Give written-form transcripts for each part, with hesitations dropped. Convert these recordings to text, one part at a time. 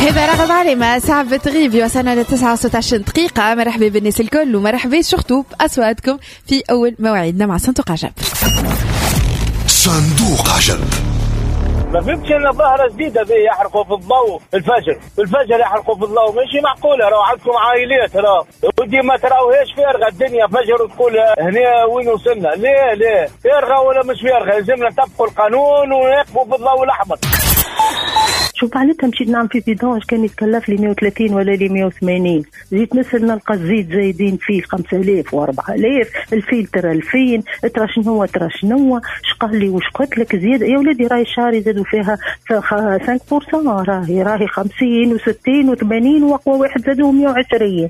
هذا رغم علي صعب تغيب. وصلنا ل 9 دقيقة. مرحبا بالناس الكل ومرحبا surtout بأصواتكم في أول مواعيدنا مع صندوق عجب. صندوق عجب. ما فهمتش ان ظاهره جديدة ذي، يحرقوا في الضوء الفجر، الفجر يحرقوا في الضوء، ماشي معقولة. راهو عندكم عائلات، راهو ودي ما تراوهاش فارغة الدنيا فجر وتقول هنا وين وصلنا؟ ليه ليه فارغة ولا مش فارغة؟ لازمنا نطبقوا القانون ونقفوا في الضوء الاحمر. شوف معناتها مشيت نعمل في vidange كان يتكلف لي 130 ولا لي 180، زيد نسال نلقى الزيت زايدين فيه 5000 و4000، الفلتر 2000، ترى شنو ترى شنو، اش قال لي واش قلت لك زيادة يا ولادي، راهي الشهر زادوا فيها 5%، راهي 50 و60 و80 واقوى واحد زادوا 120.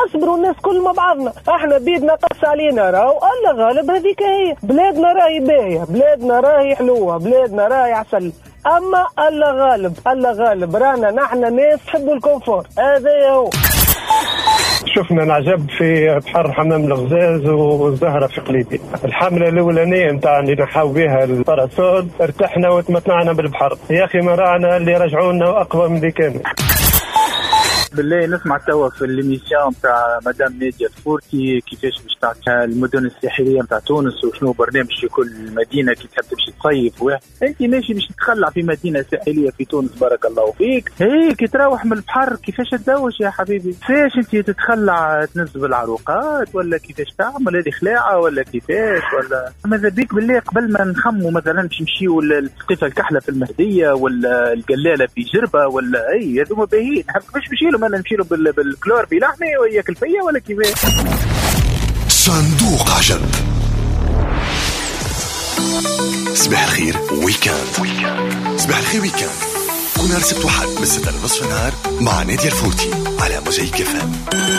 نصبروا الناس كل مع بعضنا، احنا بيدنا قص علينا راهو الله غالب، هذيك هي بلادنا راهي باهيه، بلادنا راهي حلوة، بلادنا راهي عسل، اما الله غالب الله غالب، رانا نحن ناس نحبوا ال confort، هذا هو. شفنا العجب في بحر حمام الغزاز والزهرة في قليبي. الحملة الأولانية نتاع اللي نحاو بها ال parasol ارتحنا وتمتعنا بالبحر، يا أخي ما راعنا اللي رجعونا وأقوى من اللي كانوا. بالله نسمع توا في l'émission تاع مدام نادية الفورتي كيفاش باش تعطيها المدن الساحلية نتاع تونس وشنو برنامج في كل مدينة كي تحب تمشي تصيف. انت ماشي باش تخلع في مدينة ساحليه في تونس، بارك الله فيك. هي كي تروح من البحر كيفاش تدوش يا حبيبي؟ كيفاش انت تتخلع تنزل بالعروقات ولا كيفاش تعمل هذه خلاعه ولا كيفاش؟ ولا ماذا بيك بالله قبل ما نخموا مثلا باش نمشيو للسقيفه الكحله في المهدية ولا القلاله في جربه ولا اي هذوما باهيين، كيفاش نمشي لهم؟ انا نمشي له بالكلور في لحمي وياكل فيا ولا كيفاش؟ صندوق عجب. صباح الخير week-end. صباح الخير week-end كل نهار سبت وحد من 6 لنصف النهار مع نادية الفوتي على موزايك FM.